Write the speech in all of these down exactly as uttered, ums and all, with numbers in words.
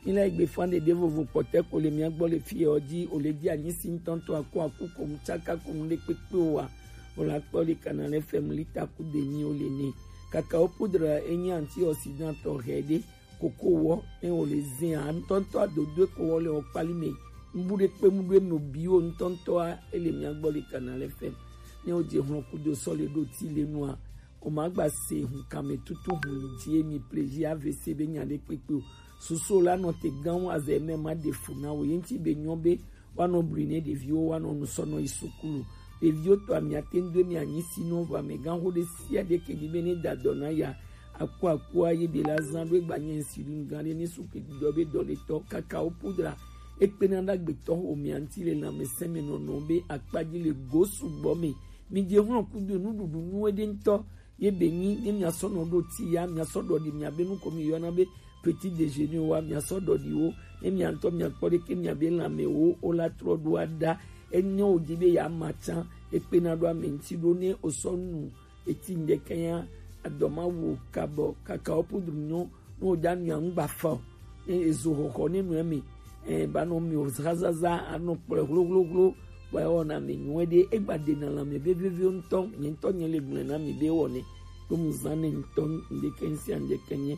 Ilé ìgbé fún àdédé vovo pọ̀tẹ́ kò lè mí agbọ́ lè fi ẹ̀ ọ́ jí ò lè jí àní sí ń tọ́ntọ́ àkó àkó kò ń tsáká kò ń lé pépé o wa. Ò la kpọ́ lè kànáà lẹ́ fẹ́ mu lítà kú dè ní o lè ní. Kàkà ó púdùrà ẹ̀yìn àǹtí ọ̀sìdán tọ̀ hẹ́ dé kòkó wọ́ ẹ̀ ò lè zin à ń tọ́ntọ́ àdódó kò wọ́ lè ọ̀ kpálí mẹ́. Ń bú dé pé mú dé mọ̀ bí o ń tọ́ntọ́ a ẹ̀ lè mí agbọ́ lè kànáà lẹ́ fẹ́. Ní o jẹ hàn kúdo sọ́lé dó tí lé nu a. O ma gba se hun kame tutu hun yi ji emi plaisir A V C be nya ɖe kpekpe o. Susu la nɔ te gan wa zɛ mɛ ma ɖe fu na wo ye ŋuti be nyɔ be wa nɔ bli ne ɖeviwo wa nɔ nu sɔ nɔ yi sukulu. Ɖeviwo tɔ ami ate ŋu do emi anyi si nɔ vɔ amegã xo ɖe sia ɖe ke ɖi be ne da dɔ na ya aku aku a ye ɖe la zan ɖo egba nye ŋsi ɖi ŋgã ɖe ne su ke dɔ be dɔ le tɔ kaka wo pudra ekpena ɖe agbetɔ xo mia ŋuti le lãmesẽ me nɔnɔ be akpa dzi le go sugbɔ me. Mi je hlɔ̃ kudo nuɖuɖu nyuie ɖe ŋutɔ. Ye be nyi ne miasɔ nɔ ɖo ti ya miasɔ ɖɔ ɖi miabe nu ko mi yɔna be petit déjeuner wa miasɔ ɖɔ ɖi wo ne mia ŋutɔ miakpɔ ɖeke miabe lãme wo wo la trɔ ɖo aɖa. Enye wo dzi be ya ma tsã ekpena ɖo ame ŋuti ɖo ne wosɔ nu eti ŋdeke ya adɔ ma wo kabɔ kaka wo pudru nyɔ ne wo ɖa nua ŋgba fa o ne ezo xɔxɔ ne nua me ɛ ba nɔ mi o zazaza anɔ kplɔe hlohlohlo kpɔe wɔna mi nyuie ɖe egba ɖe na lãme be vevie ŋutɔ nye ŋutɔ nye le gblɔe na mi be wɔnɛ ɖo mu zã ne ŋutɔ ŋdeke ŋsia ŋdeke nye.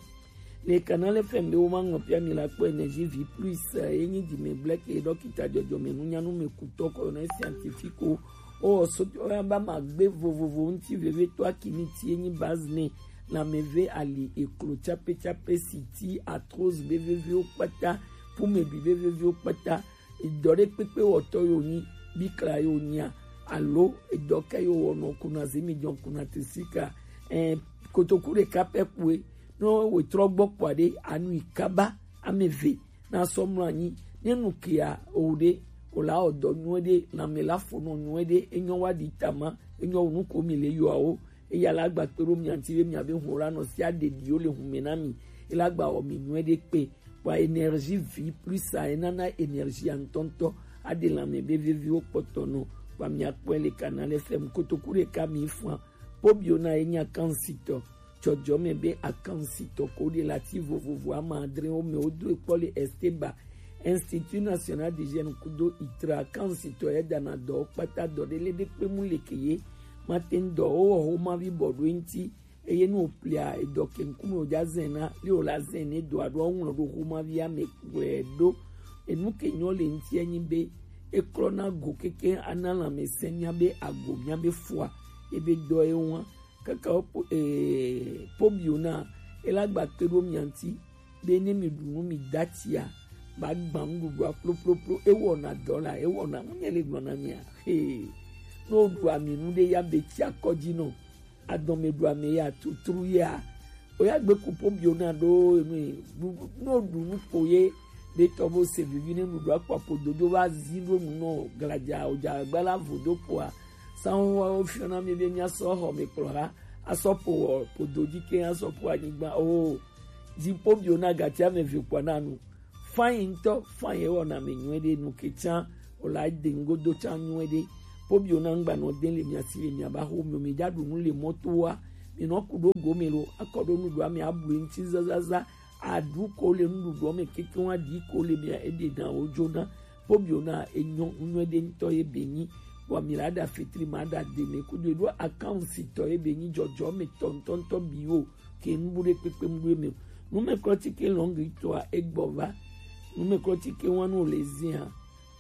Le Canal F M be wo ma ŋlɔ pia mi la kpɔ Energie Vie Plus ye nyi dime blɛke ɖɔkita dzɔdzɔme nunyanu me kutɔ kɔ na scientifique o o so ba ma gbe vovovo ŋuti veve to akimi ti ye nyi base ne lãme ve ali eklo tsape tsape si ti arthrose be vevewo kpata pumeɖui be vevewo kpata edɔ ɖe kpekpe wɔtɔ yo nyi bikla yo nyia alo edɔ ke yo wɔnɔ kuna zemi jɔ kuna tesika ɛ kotoku ɖeka pɛ kue. Ne wetrɔ gbɔ kpɔa ɖe anui kaba ame eve na sɔ mlɔ anyi ne nu kia o ɖe o la ɔdɔ nyuie ɖe lãme la fonɔ nyuie ɖe enyɔ wa ɖi tama enyɔ nu ko mi le yɔawo eya la gba kpe ɖo mia ŋuti be miabe hlɔ̃ la nɔ sia ɖeɖiwo le hume na mi ela gba wɔ mi nyuie ɖe kpe. Kpɔa Energie Vie Plus a enana energie a ŋutɔŋutɔ aɖe lãme be veviwo kpɔtɔ nɔ kpɔa miakpɔe le Canal F M kotoku ɖeka mi fua. Pobio na enya kansitɔ dzɔdzɔme be akansitɔ ko ɖe le ati vovovo ame adre wo me wodo ekpɔ le Esteba Institut National d'Hygiène kudo itra akansitɔ ya dana dɔ kpata dɔ ɖe le ɖe kpe mu le ke ye mate ŋdɔ wo wɔ ho ma vi bɔ ɖo eŋti eye nu wòplia edɔ ke ŋkume wòdza zɛna li wòla zɛn ne dɔa ɖo aŋlɔ ɖo xoma via me kplɔe ɖo. Enu ke nyɔ le ŋuti enyi be eklɔna go keke ana lãmesẽ mía be ago mía be fua ebe dɔ ye ŋua kaka wo po ee pobio na ela gba kpe ɖo mia ŋuti be ne mi ɖu nu mi da tsia ba gba nuɖuɖua ploploplo ewɔna dɔ la ewɔna ŋunye le gblɔ na mia hee ne woɖu ami nu ɖe ya be tsia kɔdzi nɔ adɔme ɖu ame ya tutru ya oya gbe ku pobio na ɖo enu ne woɖu nu ko ye be tɔ bo se vivi ne nuɖua kpɔ apodo dzo va zi ɖo nu nɔ gladza odza gbala vo do kpoa sanwó wa wo fiɔ na mi be mia sɔ xɔ me kplɔ ha asɔ po wɔ podo dzi ke asɔ po anyigba o zi pobio na gati ame ve kpɔ na nu Fine ŋutɔ, fine ewɔna mi nyuie ɖe nu ke tsã wòle ade ŋgodo tsã nyuie ɖe. Pobio na ŋgba nɔ de le mia si le mia ba xo mi mi dza ɖu nu le mɔto wa. Mi nɔ ku ɖo gome lo, akɔ ɖo nuɖua mi ablu ŋuti zazaza. Aɖu ko le nuɖuɖua me keke wa ɖi ko le mia eɖe na wo dzo na. Pobio na enyɔ nyuie ɖe ŋutɔ ye be nyi. Bɔ mi la ɖa fetri ma ɖa de me kudo eɖo akansitɔ ye be nyi dzɔdzɔ me tɔ ŋutɔ ŋutɔ bi wo. Ke nubu ɖe kpekpe mu ɖo eme o. Numɛklɔtike lɔngitɔa egbɔ va. Numɛklɔtike wanu le zia.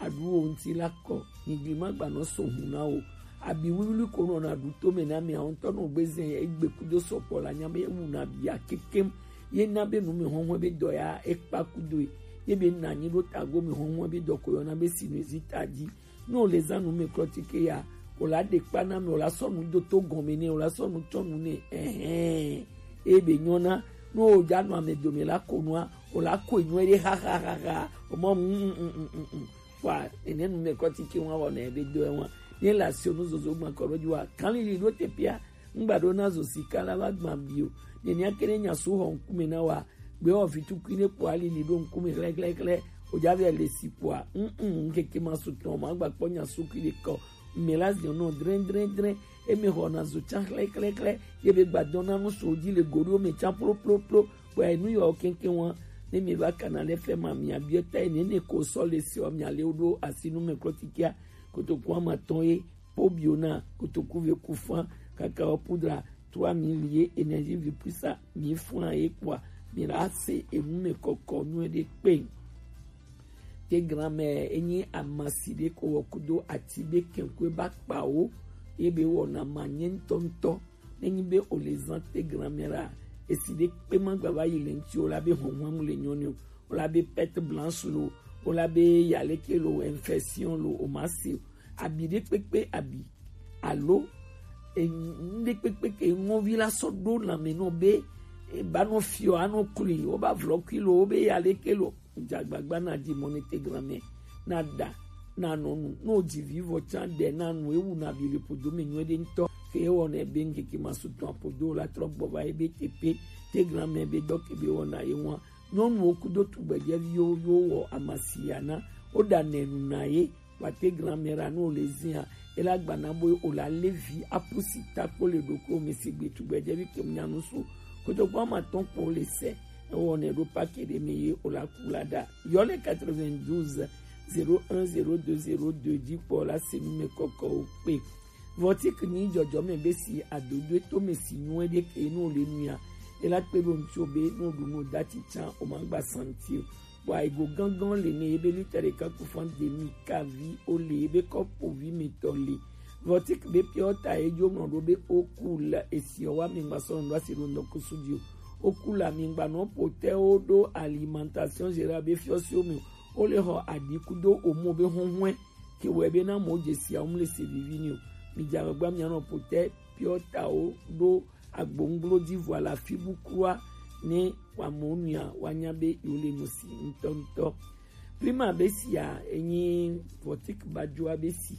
Aɖu wo ŋuti la kɔ. Nyigli ma gba nɔ so hu na wo. Abi wiwli ko nɔ na ɖu to me na mi awon tɔ nɔ gbe zia egbe kudo sɔkpɔ la nya be ewu na bia kekem. Ye na be nu me hɔnhɔn be dɔ ya ekpa kudo ye. Ye be na nyi ɖo tago me hɔnhɔn be dɔ ko yɔ na be sinusite dzi. Ne wòle zã numɛklɔtike ya, wòla ɖe kpa na ame, wòla sɔ nu do to gɔme nɛ, wòla sɔ nu tsɔ nu nɛ. Ɛhɛn. Eye be nyɔna, ne wòdza nɔ ame dome la ko nua, wòla koe nyuie ɖe xaxaxaxa. Wòmɔ mm mm mm mm mm mm. Kpɔa, nene numɛklɔtike wa wɔna ebe dɔ wa. Ne le asio nu zozo gbã kɔ ɖo dzi wa, kalili ɖo te pia, ŋgba ɖo na zo sika la va gbã bi o. Nene ake ne nya su xɔ ŋkume na wa, Gbe wɔ vi tukui ne kpɔ alili ɖo ŋkume xlɛxlɛxlɛ. Wòdza vɛ le si kpɔa, mm, mm, ŋkeke ma su tɔn ma gba kpɔ nya sukui ɖe kɔ. Mɛ la ziɔ nɔ drɛn drɛn drɛn. Eme xɔ na zo tsã xlɛxlɛxlɛ. Ye be gba dɔn na nu so dzi le goɖo me tsã ploploplo. Kpɔe nu yɔ keŋkeŋ wa. Ne mi va Canal F M a, mi abiɔ ta ye nene ko sɔ le se ɔ, mi ale wo ɖo asi nu me klɔtikia. Kotoku ama tɔn ye, po biona, kotoku ve kufan, kakao poudre trois mille ye, énergie vie puissant mi fran ye kpoa, mi la se enu me kɔkɔ nu ɖe kpe. Te grand-mère enyi amasi ɖe ko wɔ kudo ati ɖe kɛnkue ba kpawo ye be wɔna ma nyɛ ŋutɔŋutɔ. Nenyi be o le zan te grand-mère a, esi ɖe kpe ma gba va yi le ŋuti o la be hɔnhɔn mu le nyɔnu o, o la be perte blanche lo, o la be yaleke lo, infection lo, o ma se o. Abi ɖe kpekpe abi alo enu ɖe kpekpe ke ŋɔvi la sɔ ɖo lanme nɔ be e ba nɔ fiɔ anɔ kli, o ba vlɔ kui lo, o be yaleke lo. Dzagbagba na di mɔ ne te grand-mère, na ɖa, na nɔ nu, no dzi vi vɔ tsa ɖe na nu ewu na bi le podo me nyuie ɖe ŋutɔ. Ke ewɔ nɛ be ŋkeke ma su tɔn apodo la trɔ gbɔ va ebe te pe, te grand-mère be dɔ ke be wɔ na ye ŋua. Nyɔnuwo kudo tugbɛjɛviwo yo wɔ amasia na, wo ɖa nɛ nu na ye, wa te grand-mère a no le zia, ela gba na bo o la levi apusi ta kpo le ɖoklo me sigbe tugbɛjɛvi ke nya nu su. Kotoku ama tɔn kpo le se, ewɔ nɛ ɖo pake ɖe me ye o la ku la ɖa. Yɔ le quatre-vingt-douze zéro un zéro deux zéro deux dzi kpɔ la se nu me kɔkɔ o kpe. Vɔtik ni jɔjɔ me be si adodo to me si nyuie ɖe ke no le nu ya. Ela kpe ɖo ŋutsu be no ɖu no dati tsa o ma gba santi o. Bua ego gangan le ne ebe lita ɖeka ku fan demi kavi o le ebe kɔpo vi me tɔ le. Vɔtik be piɔ ta ejo ŋlɔ ɖo be o ku la esi wa mi gba sɔ ŋdɔ asi ɖo ŋdɔ kusu di o. O ku la mi gba nɔ potɛ o ɖo alimentation générale be fiɔ si o me o le xɔ aɖi kudo o mo be hɔnhɔn ke wɔ ebe na mo je si a o mu le se vivi ni o. Mi dza gba mi anɔ potɛ piɔ ta o ɖo agbonglo di vɔ la fi bu kura ne wa mo nua wa nya be yo le no si ŋutɔŋutɔ. Prima be si a enyi vɔtik bajoa be si.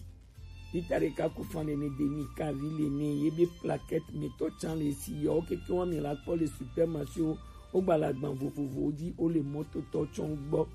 Lita ɖeka ku fan le ne demi kavi le ne ye be plaquette me tɔ tsan le si yɔ keke wa mi la kpɔ le supermarché o, o gba la gban vovovo di o le mɔto tɔ tsɔn gbɔ.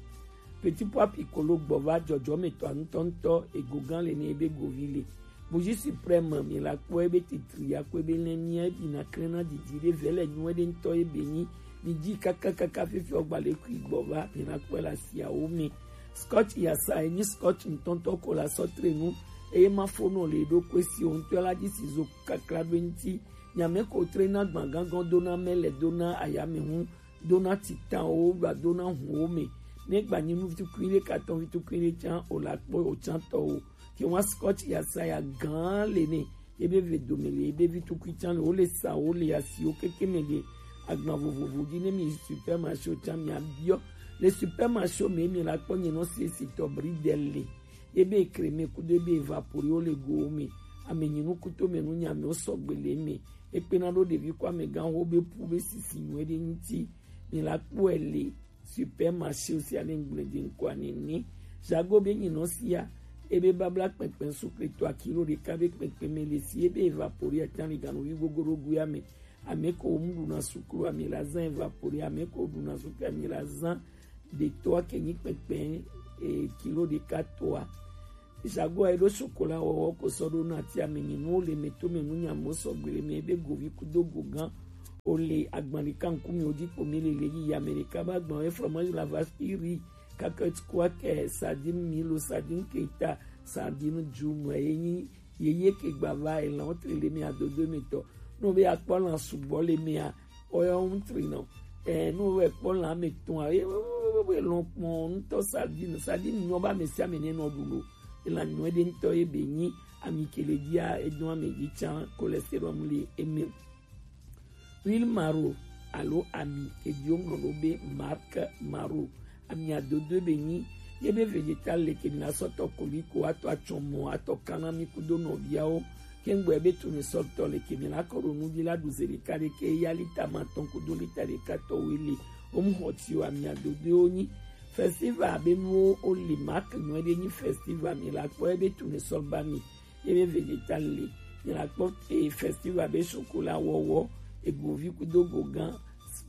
Petit pois piccolo gbɔ va jɔjɔ me tɔ ŋutɔŋutɔ ego gan le ne ye be govi le. Bougie suprême mi la kpɔ ebe titri ya kpɔ ebe lɛ mia ebi na klɛn na didi ɖe vɛ le nyuie ɖe ŋutɔ ebe nyi mi dzi kakakaka fifi ɔgba le kui gbɔ va mi la kpɔ le asiawo me. Scotch yasa enyi scotch ŋutɔŋutɔ ko la sɔ tre nu eye ma fo nɔ le ɖo kue si o ŋutɔ la dzi si zo kakla ɖo eŋuti. Nyame ko tre na gbagangan dona mele dona ayame hu dona titanwo va dona huwo me. Ne gba nyi nu vitukui ɖe katɔn vitukui ɖe tsan o la kpɔ o tsan tɔ o. Ke wa scotch yasa ya gan le ne ebe ve dome le ebe vitukui tsan le wo le sa wo le asiwo keke me le agban vovovo dzi ne mi supermarché o tsan mi abiɔ le supermarché o me mi la kpɔ nye nɔ si esi tɔ bridel le ebe crème kudo ebe évaporé wo le go wo me ame nyi nu kuto me nu nya me wo sɔgbe le me ekpe na ɖo ɖevi kɔ amegã wo be pu be sisi nyuie ɖe ŋuti mi la kpɔe le supermarché o sia ne ŋgble de ŋkɔa nene. Jago be nyinɔ sia ebe babla kpɛkpɛ sukle to akilo ɖeka be kpɛkpɛ me le si ebe évaporé atan le ganuvi gogoro guya me. Ame ko mu ɖuna suklu ame la zan évaporé ame ko ɖuna suklu ame la zan ɖetɔa ke nyi kpɛkpɛ e kilo ɖeka tɔa. Jago a eɖo sokola wɔwɔ ko sɔ ɖo na ti ame nyi nuwo le me to me nu nya mo sɔgbe le me ebe govi kudo gogan o le agban ɖeka ŋkume wo dzi kpo mi le le yi ame ɖeka ba agban e fromage la vache qui rit, cacahuète, squake, sardine milo, sardine keita, sardine djunu e nyi yeye ke gba va elan wo tri le me adodo me tɔ no be akpɔ lan sugbɔ le me a oya wo tri nɔ ɛ no be kpɔ lan me tɔn a ye be lɔn kpɔn ŋutɔ sardine sardine nyɔ ba me sia me ne nɔ ɖu lo elan nyɔ ɖe ŋutɔ ye be nyi ami ke le dzia edɔn ame dzi tsan cholestérol le eme. Huile maro alo ami ke dzi wo ŋlɔ ɖo be marque maro. Ami adodo be nyi ye be vegetal le ke mi na sɔ tɔ koliko atɔ atsɔmɔ atɔ kana mi kudo nɔviawo. Ke ŋgbɔ be tournesol tɔ le ke mi na kɔ ɖo nu dzi la ɖu ze ɖeka ɖe ke ya lita ma tɔn kudo lita ɖeka tɔ wo le. Wo mu xɔ ti o ami adodo wo nyi. Festival be nuwo wo le marque nyɔ ɖe nyi festival mi la kpɔ ye be tournesol ba mi. Ye be vegetal le. Mi la kpɔ e festival be sokola wɔwɔ egovi kudo gogan.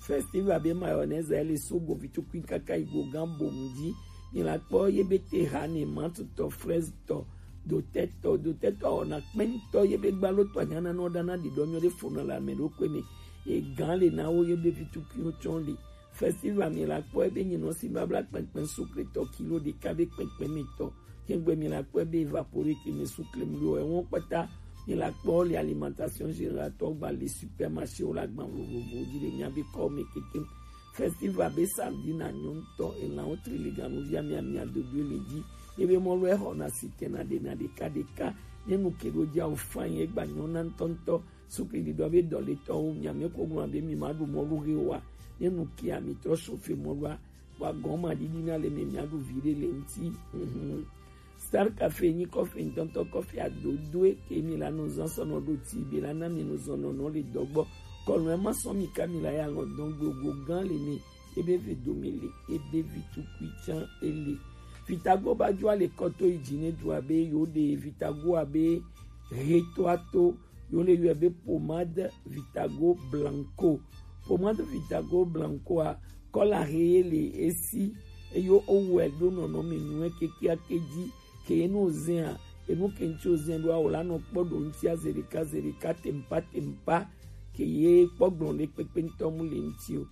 Festival be mayonnaise ele so govi tukui kaka yi gogan bom dzi. Mi la kpɔ ye be te ha ne mantutɔ fraise tɔ dotɛtɔ dotɛtɔ ɔna kpɛntɔ ye be gbalo tɔ anyana nɔ ɖana ɖiɖɔ nyɔ ɖe fona le ame ɖokpe me. Egan le na wo ye be vi tukui wo tsɔn le. Festival mi la kpɔ ebe nyi nɔ si babla kpɛnkpɛn sucre tɔ kilo ɖeka be kpɛnkpɛn mi tɔ. Kɛngbe mi la kpɔ ebe vaporique mi sucre mi ɖo ɛwɔn kpata mi la kpɔ le alimentation générale tɔ gba le supermarché wo la gban vovovo dzi le mia be kɔ mi keke. Festival be samedi na nyɔnu tɔ elan wo tri le ganu via mia mia dodo le dzi. Ebe mɔlu exɔ na si tɛna ɖe na ɖeka ɖeka. Ne nu ke ɖo dzi awo fan ye gba nyɔna ŋutɔŋutɔ. Sukli ɖiɖɔ be dɔletɔwo, miame ko gblɔ be mi ma ɖu mɔlu ɣe oa? Ne nu kia mi trɔ sofe mɔlua, wa gɔn ma ɖiɖi na le mi mia ɖu vi ɖe le ŋti. Mhm. Star Cafe nyi kɔfe ŋtɔŋtɔ kɔfe adodoe ke mi la nɔ zan sɔ nɔ ɖo ti be la na mi nɔ zɔn nɔ nɔ le dɔgbɔ. Kɔlɔn ma sɔ mi ka mi la ya lɔ dɔn gogo gan le mi. Ebe ve dome le, ebe vi tukui tsan ele. Vitago ba jo ale kɔto yi dzi ne du abe yo de Vitago abe reto ato. Yo le yɔe be pomade Vitago Blanco. Pomade Vitago Blanco a, kɔla he ye le esi, eyo owɛ ɖo nɔnɔme nyuie kekeake dzi, ke ye no zɛn a, enu ke ŋti o zɛn ɖo a, o la nɔ kpɔ ɖo ŋti a, zeɖeka zeɖeka tempa tempa, ke ye kpɔ gblɔ ɖe kpekpe ŋtɔ mu le ŋti o.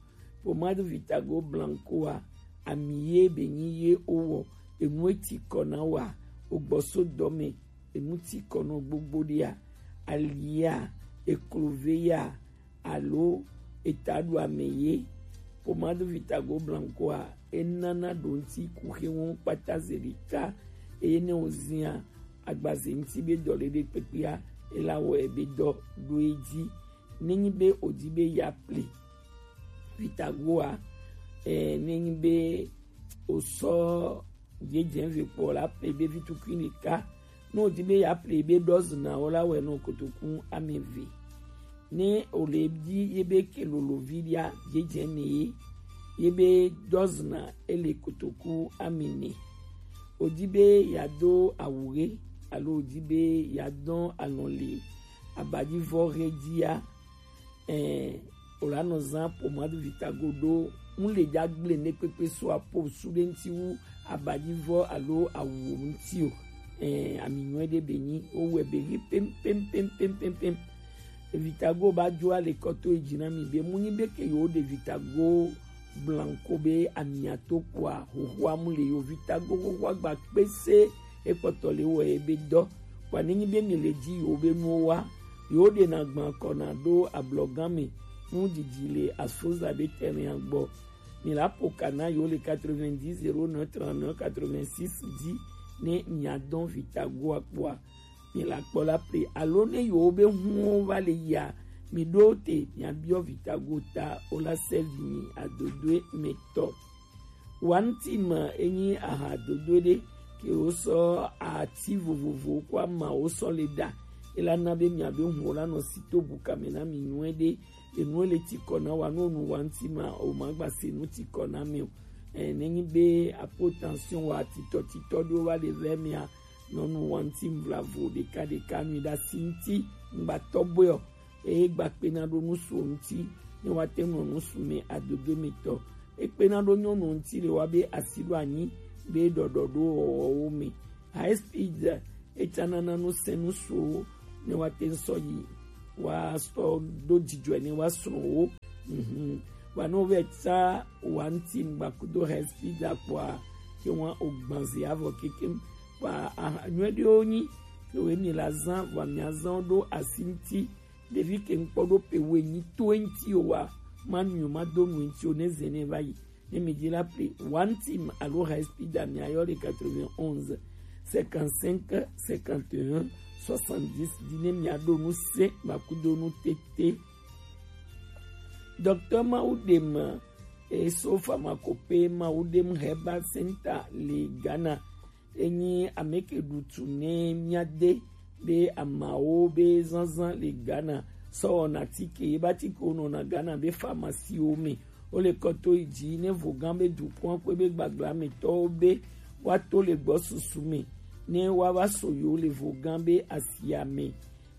Pomade Vitago Blanco a, ami ye be nyi ye owɔ, enu e ti kɔ na wa, o gbɔ so dɔ me, enu ti kɔ nɔ gbogbo ɖia, alia, eklove ya, alo eta ɖu ame ye. Pomade Vitago Blanco a, enana ɖo ŋti kuxe wɔn kpata zeɖeka, eye ne o zia agbaze ŋti be dɔ ɖeɖe kpekpea, ela wɔ ebe dɔ ɖo edzi. Nenyi be o di be ya ple Vitago a, eh, nenyi be o sɔ dzedzɛ ve kpɔ la ple be vitukui ɖeka. Ne o di be ya ple be dɔzna o la wɛ nɔ kotoku ame ve. Ne o le di ye be ke lolo vi ɖia dzedzɛ ne ye, ye be dɔzna ele kotoku ame ne. O di be ya do awu ɣe alo o di be ya dɔn alɔn le abadivɔ ɣe dzia, eh, o la nɔ zan pomade Vitago ɖo. Ŋu le dza gble ne kpekpe so apo su ɖe ŋti wu abadivɔ alo awu ŋti o. Eh, ami nyuie ɖe be nyi, o wɛ be ɣi pem, pem, pem, pem, pem, pem. Vitago ba jo ale kɔto yi dzi na mi be mu nyi be ke yo ɖe Vitago Blanco be amia to kpoa, xoxoa mu le yo Vitago xoxoa gba kpese ekpɔtɔ le wɔ ebe dɔ. Kpoa nenyi be mi le dzi yo be nuwo wa, yo ɖe na gban kɔ na ɖo ablɔgan me, nu didi le asoza be tɛnɛ gbɔ. Mi la po kana yo le quatre-vingt-dix zéro neuf trente-neuf quatre-vingt-six dzi ne mia dɔn Vitago a kpoa. Mi la kpɔ la ple alo ne yo be huwo va le yia, mi ɖo te mia biɔ Vitago ta o la sɛvi mi adodoe me tɔ. Wanti ma enyi aha dodo ɖe ke wo sɔ ati vovovo ko ama wo sɔ le ɖa. Ela na be mia be huwo la nɔ si to bu kame na mi nyuie ɖe. Enu le ti kɔ na wa no nu wanti ma o ma gba se nu ti kɔ na mi o. Eh, nenyi be apo tension wa titɔ titɔ ɖo va le vɛ mia nɔnu wanti mvlavo ɖeka ɖeka mi ɖa si ŋti ŋgba tɔ bɔe o. Eye gba kpena ɖo nusu ŋti ne wa te nɔ nusu me adodo mi tɔ. Ekpena ɖo nyɔnu ŋti le wa be asi ɖo anyi be ɖɔɖɔ ɖo wɔwɔwo me. High speed etsa nana nu sɛ nusuwo ne wa te ŋsɔ yi wa sɔ do dzidzɔe ne wa srɔ̃wo. Mhm. Wa no ve tsa wa ŋti ŋgba kudo high speed akpɔa ke wa o gbanze avɔ kekem. Wa aha nyuie ɖewo nyi ke we mi la zan wa mi azan ɖo asi ŋti. Ɖevi ke ŋkpɔ ɖo pe we nyi to ŋti o wa ma nyu ma do nu ŋti o ne zene va yi. Ne mi di la ple one team alo high speed a mi ayɔ le quatre-vingt-onze cinquante-cinq cinquante et un soixante-dix di ne mi aɖo nu se ma kudo nu tete. Docteur Mawudem eso pharmacopoeia Mawudem Herbal Center le Ghana. Enyi ame ke ɖu tu ne mia de be amawo be zanzan le Ghana sɔ wɔna tike ye ba tike wo nɔna Ghana be pharmacie wo me. Wo le kɔto yi dzi ne vogan be dukɔn kpe be gbagla me tɔwo be wa to le gbɔ susu me ne wa va so yo le vogan be asia me.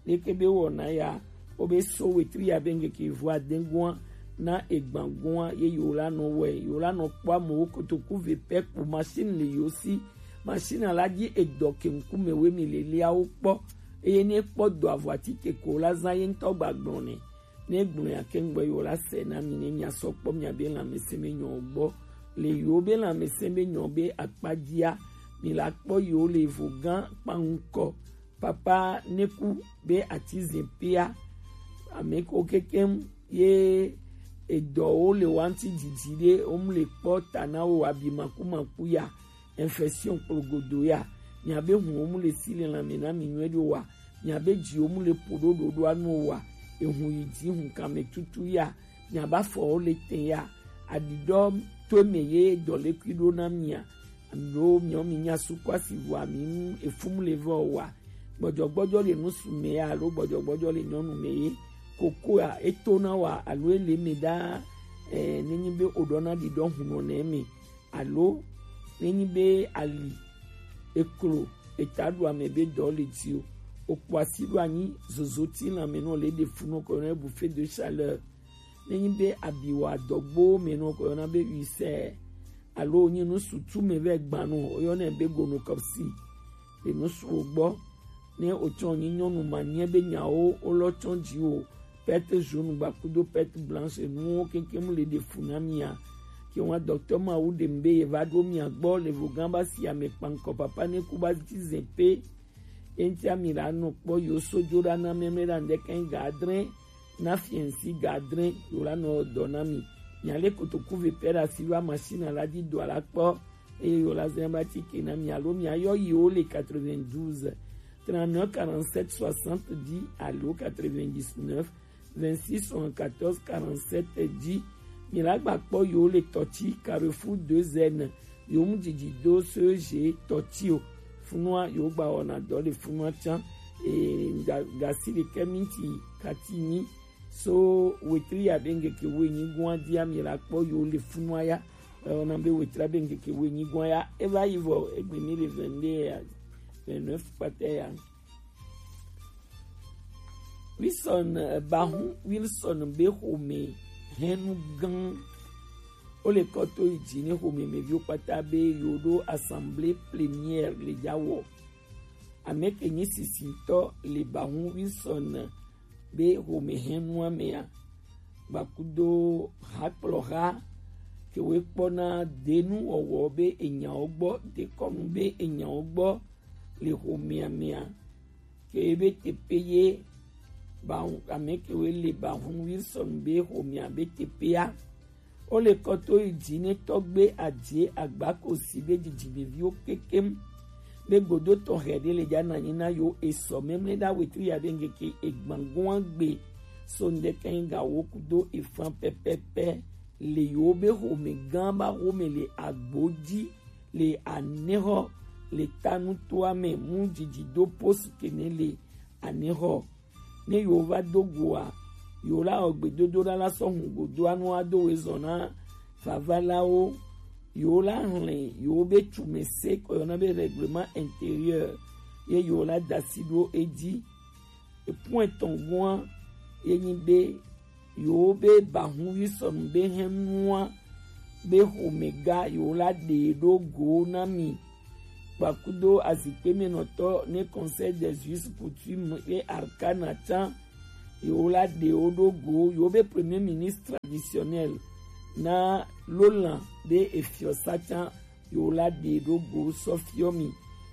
Leke be wɔna ya, wo be so wetri ya be ŋkeke vo adegoa na egbagoa ye yo la nɔ wɛ, yo la nɔ kpɔ amewo kotoku ve pɛ kpo machine le yo si. Machine la dzi edɔ ke ŋkume we mi le liawo kpɔ. Eye ne kpɔ dɔ avɔ atike ko la zã ye ŋutɔ gba gblɔ nɛ. Ne gblɔ ya kɛŋgbɔ yi wo la sɛ na mi ne mia sɔ kpɔ mia be lãmesẽ be nyɔ gbɔ. Le yi wo be lãmesẽ be nyɔ be akpa dzia, mi la kpɔ yi wo le vo gã kpaŋkɔ. Papa ne ku be ati zin pia, ame ko kekem ye edɔwo le wa ŋuti didi ɖe, wo mu le kpɔ ta na wo abi makumaku ya, infection kplogodo ya, miabe hun wo mu le si le lãme na mi nyuie ɖo wa, miabe dzi wo mu le po ɖo ɖoɖo anu wa, ehun yi dzi hun kame tutu ya, miabe afɔwo le tɛ ya, aɖiɖɔ to eme ye dɔlekui ɖo na mia, alo miawo mi nya sukɔ asi vɔa mi ŋu efu mu le vɔ wa, gbɔdzɔgbɔdzɔ le nusu me ya alo gbɔdzɔgbɔdzɔ le nyɔnu me ye, kokoa eto na wa alo ele me ɖa, eh, nenyi be oɖɔ na ɖiɖɔ hunɔ nɛ me, alo nenyi be ali eklo eta ɖu ame be dɔ le dzi o, okpɔ asi ɖo anyi zozo ti lãme nɔ le ɖe fu nɔ kɔ yɔna bouffée de chaleur. Nenyi be abi wa dɔgbo me nɔ kɔ yɔna be ulcère, alo nyi nusu tu me vɛ gban nɔ, oyɔna be gonococci. Le nusu wo gbɔ, ne otsɔ nyi nyɔnu ma nyɛ be nyawo wolɔ tsɔ dzi o, perte jaune gba kudo perte blanche nuwo kekem le ɖe fu na mia. Ke wa docteur ma wu ɖem be ye va ɖo mia gbɔ le vo gã ba si ame kpankɔ papa ne ku ba ti zin pe. Ye ŋuti ami la nɔ kpɔ yo so dzo ɖa na mɛmɛ ɖa ŋdɛ kɛn ga adre na fiɛnsi ga adre yo la nɔ dɔ na mi. Mia le kotoku ve pɛ ɖa si va machine la di dɔ la kpɔ eye yo la zɛn ba ti ke na mi alo mia yɔ yi wo le quatre-vingt-douze, trente-neuf, quarante-sept, soixante-dix alo quatre-vingt-dix-neuf, vingt-six, soixante-quatorze, quarante-sept dzi. Mi la gba kpɔ yo le tɔtsi Carrefour deux N, yo mu dzidzi do so je tɔtsi o. Funua yo gba wɔna dɔ le funua tsan. E, ga, gasi ɖekɛ minti kati nyi. So wetri ya be ŋkeke wo enyi gua dia mi la kpɔ yo le funua ya. E, wɔna be wetri ya be ŋkeke wo enyi gua ya. E va yi vɔ egbe mi le vingt-deux ya, vingt-neuf kpata ya. Wilson, eh, Bahun Wilson be xome hɛnnu gã. Wo le kɔ to yi dzi ne xome mɛviwo kpata be yo ɖo assemblée plénière le dza wɔ. Ame ke nyi sisitɔ le Bahun Wilson be xome hɛnnua mea, gbakudo hakplɔha ke wo kpɔna denu wɔwɔ be enyawo gbɔ, dekɔnu be enyawo gbɔ le xomea mea, ke be teƒe ye ba ame ke wo le Bahun Wilson be xomea be teƒea. Wo le kɔ to yi dzi ne tɔgbe adze agbakosi be dzidzimeviwo kekem be godo tɔxɛ ɖe le dza na nyi na yo esɔ memle ɖa wetu ya be ŋkeke egbangoa gbe so ŋdɛkɛ ga wo kudo efan pɛpɛpɛ le yo be xome gã ba xome le agbo dzi le anexɔ le tanutoa me mu dzidzi do posu kene le anexɔ. Ne yo va do goa, yo la wɔ gbedodoɖa la sɔ hun godoa nu ado we zɔ na vavalawo. Yo la hlẽ yo be tumese kɔ yɔna be règlement intérieur ye yo la dasi ɖo edzi. Epun etɔn gua ye nyi be yo be Bahun Wilson be hɛnnua be xomega yo la ɖe ɖo go na mi. Kpakudo azikpe me nɔtɔ ne Conseil des Juges Coutumes et Arcana tsan yo la ɖe wo ɖo go yo be Premier Ministre traditionnel na Lolan be efiɔsa tsan yo la ɖe ɖo go sɔ fiɔ mi.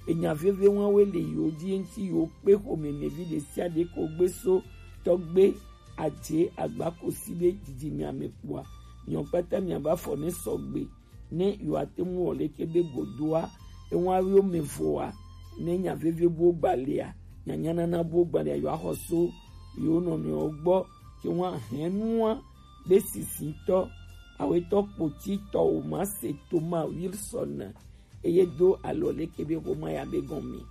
Enya veve wa we le yo dzi ŋti yo kpe xome me vi ɖe sia ɖe ko gbe so tɔgbe adze agbakosi be dzidzime ame kpɔa. Nyɔ kpata mia ba fɔ ne sɔgbe ne yo ate ŋu wɔ leke be godoa ewa yo me voa ne nya veve bo gbalea nyanya nana bo gbalea yo axɔ so yo nɔnɔewo gbɔ ke wa hɛnua be sisitɔ awetɔ kpotitɔ o ma se Thomas Wilson eye do alɔ leke be xoma ya be gɔme.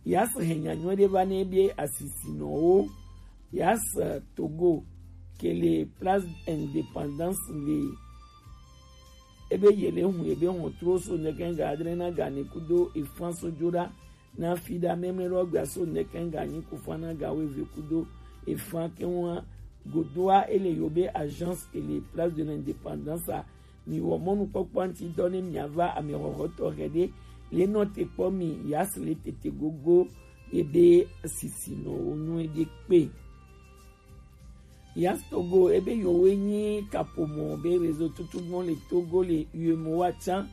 Yas hɛnya nyuie ɖe va ne be asisinɔwo. Yas Togo ke le Place Indépendance le ebe ye le hun ebe hɔn tro so nɛkɛ ga adre na ga ne kudo efan so joɖa na fi ɖa mɛmlɛ ɖo gbia so nɛkɛ ga nyi kufa na ga wo eve kudo efan ke wa godoa ele yo be agence ke le Place de l'Indépendance a. Mi wɔ mɔnukpɔkpɔ ŋuti dɔ ne mia va ame xɔxɔtɔ xɛ ɖe le nɔ te kpɔ mi ya si le tete gogo ye be sisinɔwo nyuie ɖe kpe. Yas Togo, ebe yowe nyi kaƒomɔ be réseau tutugbɔn le Togo le U E M O A tsã,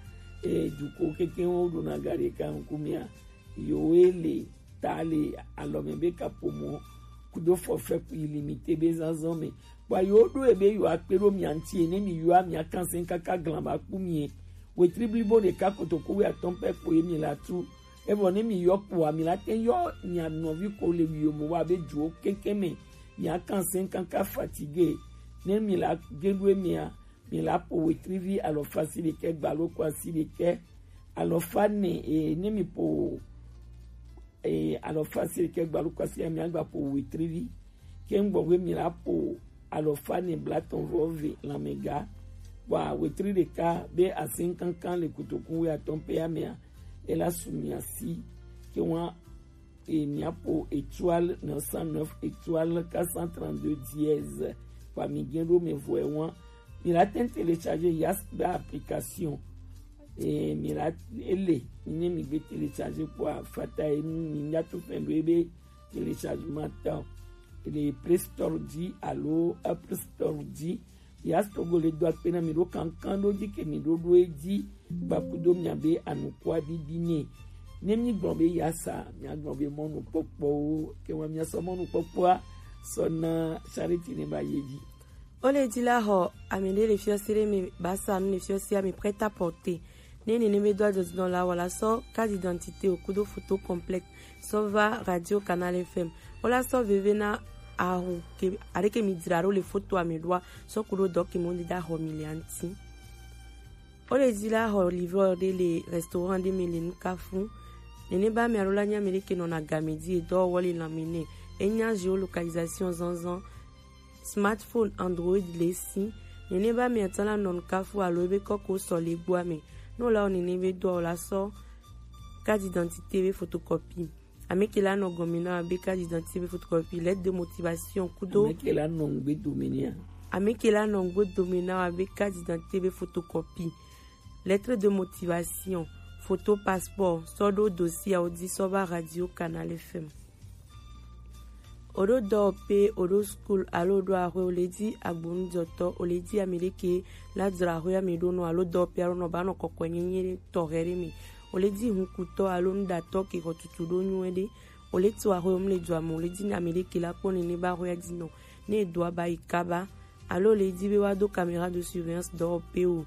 e, dukɔ keke wo ɖona ga ɖeka ŋku mia. Yowe le ta le alɔme be kaƒomɔ kudo forfait illimité be zazan me. Bua yo ɖo ebe yo akpe ɖo mia ŋuti ene mi yo amia kansen kaka glan ba ku mie. Wetri blibo ɖeka kotoku wi atɔn pɛ ko ye mi la tu. Evɔ ne mi yɔ kpoa, mi la te yɔ mia nɔvi ko le wi yo mo wa be duwo keke me. Mia kansen kaka fatigué. Ne mi la geɖo emia, mi la po wetri vi alɔfa si ɖekɛ gbalo ko asi ɖekɛ. Alɔfa ne, e, ne mi po, e, alɔfa si ɖekɛ gbalo ko asi, mi agba po wetri vi. Ke ŋgbɔ be mi la po alɔfa ne blatɔn vɔ ve lanmɛga. Bua wetri ɖeka be asin kankan le kotoku wi atɔn pɛ ya mea, e la su mia si. Ke wa e mia po étoile neuf cent neuf étoile quatre cent trente-deux dièse. Kpa mi gen ɖo me vɔ e wan. Mi la ten télécharger Yas be application. E mi la ele, mi ne mi gbe télécharger kpoa fata e mi mi nya to fɛn ɖo ebe téléchargement ta. Ele Play Store dzi alo Apple Store dzi. Yas Togo le do akpe na mi ɖo kankan ɖo dzi ke mi ɖo ɖo edzi gbakudo mia be anukua ɖiɖi nɛ. Ne mi gblɔ be Yasa, mia gblɔ be mɔnukpɔkpɔwo, ke wa mia sɔ mɔnukpɔkpɔa sɔ na charity ne ba ye dzi. O le dzi la xɔ ame ɖe le fiɔsi ɖe me ba sa nu le fiɔsia me prêt à porter. Ne nene be do adzɔdzinɔ la wɔ la sɔ carte d'identité o kudo photo complète sɔ va Radio Canal F M. O la sɔ veve na aho ke aɖeke mi dzra ɖo le fotoa me ɖoa sɔ ku ɖo dɔ ke mo ɖi da xɔ mi le aŋti. O le dzi la xɔ livreur ɖe le restaurant ɖe me le Nukafu. Nene ba me alo la nya me ɖeke nɔna game dzi edɔ wɔ le lãme nɛ. Enya géolocalisation zanzan. Smartphone Android le si. Nene ba mia tsã la nɔ Nukafu alo ebe kɔko sɔ le gbɔa me. Ne wòle wɔ nene be dɔa o la sɔ carte d'identité be photocopie. Ame ke la nɔ gɔme na wa be carte d'identité be photocopie, lettre de motivation kudo. Ame ke la nɔ ŋgbe dome nɛ. Ame ke la nɔ ŋgbe dome na wa be carte d'identité be photocopie, lettre de motivation, photo passeport, sɔ ɖo dossier awo dzi sɔ va Radio Canal F M. O ɖo dɔwɔƒe, o ɖo school alo o ɖo axwe, o le dzi agbonujɔtɔ, o le dzi ame ɖe ke la dzra axwe ame ɖo nɔ alo dɔwɔƒe alo nɔ ba nɔ kɔkɔe nyenye tɔxɛ ɖe me. O le dzi hunkutɔ alo nuɖatɔ ke xɔ tutu ɖo nyuie ɖe. O le tso axwe o mu le dua me, o le dzi ame ɖe ke la kpɔ nene ba axwea dzi nɔ. Ne e do aba yi kaba alo o le dzi be wa do caméra de surveillance dɔwɔƒe o.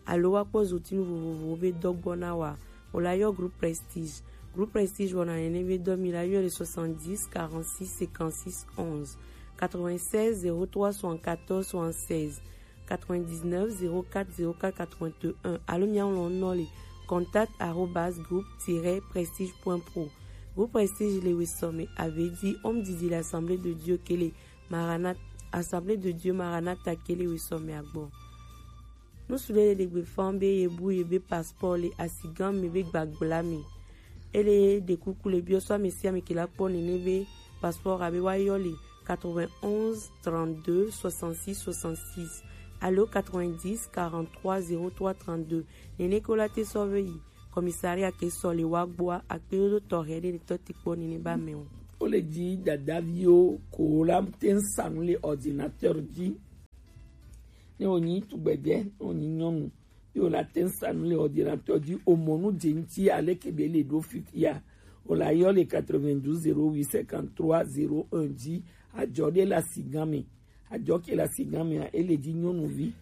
Alo wa kpɔ zotinu vovovowo be dɔ gbɔ na wa, o la yɔ Groupe Prestige. Groupe Prestige wɔna nene be dɔ mi la yɔ le soixante-dix quarante-six cinquante-six onze, quatre-vingt-seize zéro trois soixante-quatorze soixante-seize, quatre-vingt-dix-neuf zéro quatre zéro quatre quatre-vingt-un, alo mia ŋlɔ nɔ le contact arobase groupe tiret prestige point pro. Groupe Prestige le wesɔme ave dzi, home didi le Assemblée de Dieu ke le Maranatha, Assemblée de Dieu Maranatha ke le wesɔme agbɔ. Nusu ɖe le ɖegbe fam be ye bu ye be passeport le asigã me be gbagbla me. Ele ɖe kuku le biɔ sɔ ame sia ame ke la kpɔ nene be passeport abe wa yɔ le quatre-vingt-onze trente-deux soixante-six soixante-six alo quatre-vingt-dix quarante-trois zéro trois trente-deux. Nene ke wo la te sɔ ve yi commissariat ke sɔ le wa gbɔa, akpe ɖo tɔxɛ ɖe le tɔ ti kpɔ nene ba me o. Wo le dzi dadaviwo ko la te ŋ sa nu le ordinateur dzi. Ne wònyi tugbedzɛ, ne wònyi nyɔnu, ye wòla te ŋ sa nu le ordinateur dzi, wòmɔ nu dze ŋuti aleke be le ɖo fifia, wòla yɔ le quatre-vingt-douze zéro huit cinquante-trois zéro un dzi, adzɔ ɖe le asigã me. Adzɔ ke le asigã mea, ele dzi nyɔnuvi,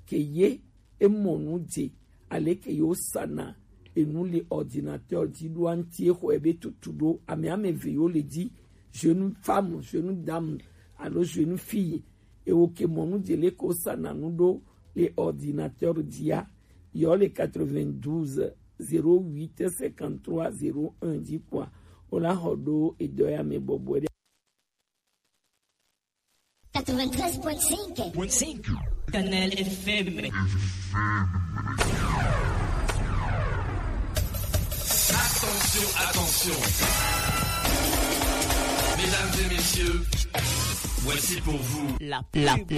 ke ye emɔ nu dze aleke ye wosana enu le ordinateur dzi ɖoa ŋuti, exɔe be tutu ɖo. Ame ame eve yewo le dzi, jeune femme, jeune dame, alo jeune fille. Ewo ke mɔ nu dze leke wosana nu ɖo le ordinateur dzia, yɔ le quatre-vingt-douze zéro huit cinquante-trois zéro un dzi kpɔa, wola xɔ ɖo edɔ ya me bɔbɔe ɖe. Quatre-vingt-treize point cinq. Point cinq. Canal F M. Attention, attention. Mesdames et messieurs, voici pour vous la pub.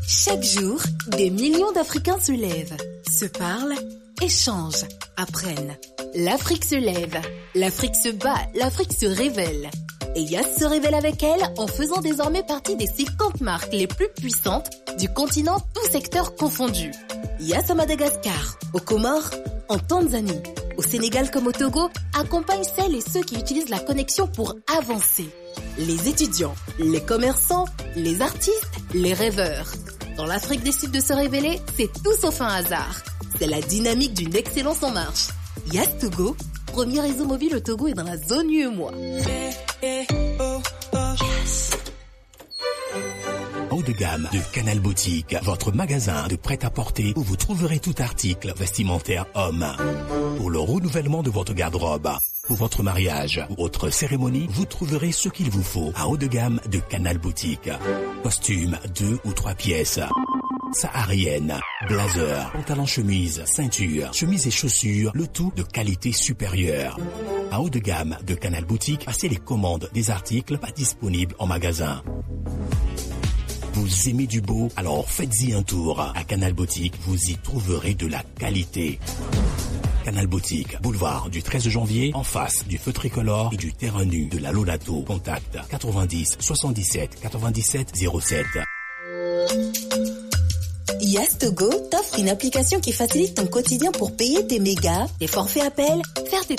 Chaque jour, des millions d'Africains se lèvent, se parlent, échangent, apprennent. L'Afrique se lève, l'Afrique se bat, l'Afrique se révèle. Et Yas se révèle avec elle en faisant désormais partie des cinquante marques les plus puissantes du continent, tout secteur confondu. Yas à Madagascar, aux Comores, en Tanzanie, au Sénégal comme au Togo, accompagne celles et ceux qui utilisent la connexion pour avancer. Les étudiants, les commerçants, les artistes, les rêveurs. Quand l'Afrique décide de se révéler, c'est tout sauf un hasard. C'est la dynamique d'une excellence en marche. Yas Togo, premier réseau mobile au Togo et dans la zone U E M O A. Haut de gamme de Canal Boutique, votre magasin de prêt-à-porter où vous trouverez tout article vestimentaire homme. Pour le renouvellement de votre garde-robe, pour votre mariage ou autre cérémonie, vous trouverez ce qu'il vous faut à haut de gamme de Canal Boutique. Costume deux ou trois pièces, saharienne, blazer, pantalon chemise, ceinture, chemise et chaussures, le tout de qualité supérieure. À haut de gamme de Canal Boutique, passez les commandes des articles pas disponibles en magasin. Vous aimez du beau ? Alors faites-y un tour. À Canal Boutique, vous y trouverez de la qualité. Canal Boutique, boulevard du treize janvier, en face du feu tricolore et du terrain nu de la Lonato. Contact quatre-vingt-dix soixante-dix-sept quatre-vingt-dix-sept zéro sept. Yas Togo t'offre une application qui facilite ton quotidien pour payer tes mégas, tes forfaits appels, faire tes